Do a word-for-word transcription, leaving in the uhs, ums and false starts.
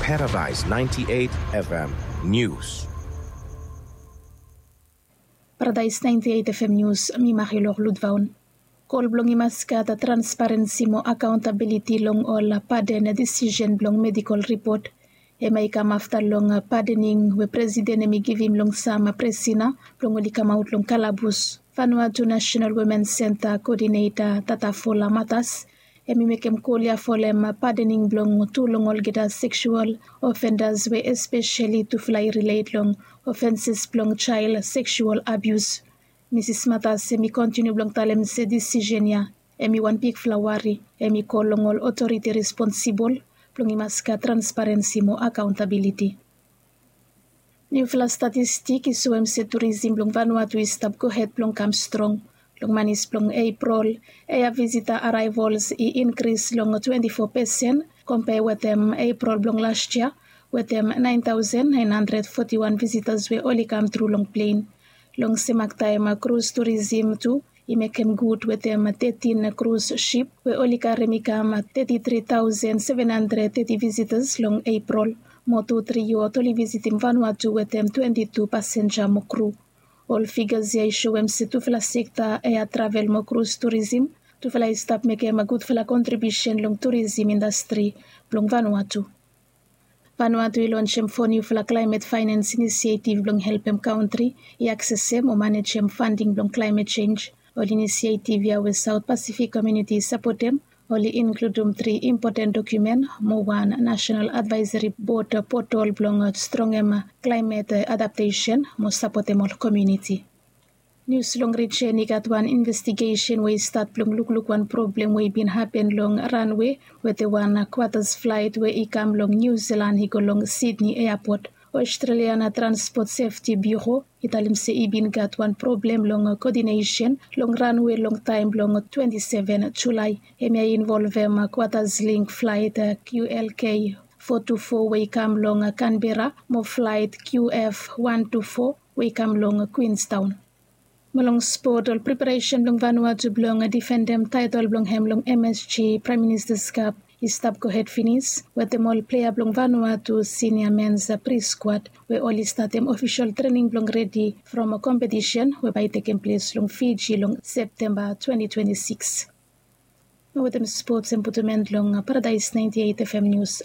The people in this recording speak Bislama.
Paradise ninety-eight F M News. Paradise ninety-eight F M News, mi Marilor Ludvaun. Kol blong i mas gat transparensi mo akaontabiliti long ol paden disisen blong medikol ripot. Hemia i kam afta long padening we presiden hemi givim long sam presina blong oli kamaot long kalabus. Vanuatu National Women Center Kodineta Tatafola Matas hemi mekem kol ya folem padening blong tu long olgeta seksual ofendas we espeseli tufala i rilet long ofenses blong jael seksual abius. Misis Matas hemi kontiniu blong talem se disisen ya hemi wan bigfala wari. Hemi kol long ol otoriti responsibol blong i mas gat transparensi mo akaontabiliti. Niufala statistik i soem se turisim blong Vanuatu i stap gohed blong kam strong. Long manis blong Eprol, ea visita araevols i inkris long twenti fo pesen kompea wetem Eprol blong las yia, wetem naen taosen naen handred foti wan visitas we oli kamtru long plen. Long semak taem krus turisim tu i mekem gud wetem tetin krus sip we oli karem i kam teti tri taosen seven handred teti visitas long Eprol. Mo tu tri yot oli visitim Vanuatu wetem twenti tu pasenja mo kru. Ol figas ya i soem se tufala sekta ea travel mo krus turisim tufala i stap mekem gudfala kontribiusen long turisim indastri blong Vanuatu. Vanuatu i lonsem fo niufala klaemet faenens inisietiv blong helpem kantri i aksesem o manejem fanding blong klaemet jenj. Ol inisietiv ya we Saot Pasifik Komuniti i sapotem oli inkludum tri impoten dokumen mo wan Nasenal Advaeseri Bod potol blong strongem klaemet adaptesen mo sapotem ol komuniti. Nius long rijen i gat wan investigesen we i stat blong lukluk wan problem we i bin hapen long ranwe wetem wan kwatas flaet we i kam long Niu Silan i go long Sidni eapot. Australian Transport Safety Bureau i talem se i bin gat wan problem long kodinesen long ranwe long taem blong twenti seven Julae. Hemia i involvem kwatas ling flaet Q L K fo tu fo we i kam long Kanbera mo flaet Q F wan tu fo we i kam long Kwinstaon. Mo long spot, ol preparesen blong Vanuatu blong difendem taetol blong hem long M S G Praem Ministas Kap i stap gohed finis wetem ol plea blong Vanuatu sinia mens priskwad we oli statem ofisol trening blong redi from kompetisen we bae i tekem ples long Fiji long Septemba twenti twenti sikis. Mo wetem spots hem putum en long Paradaes naenti eit F M nius.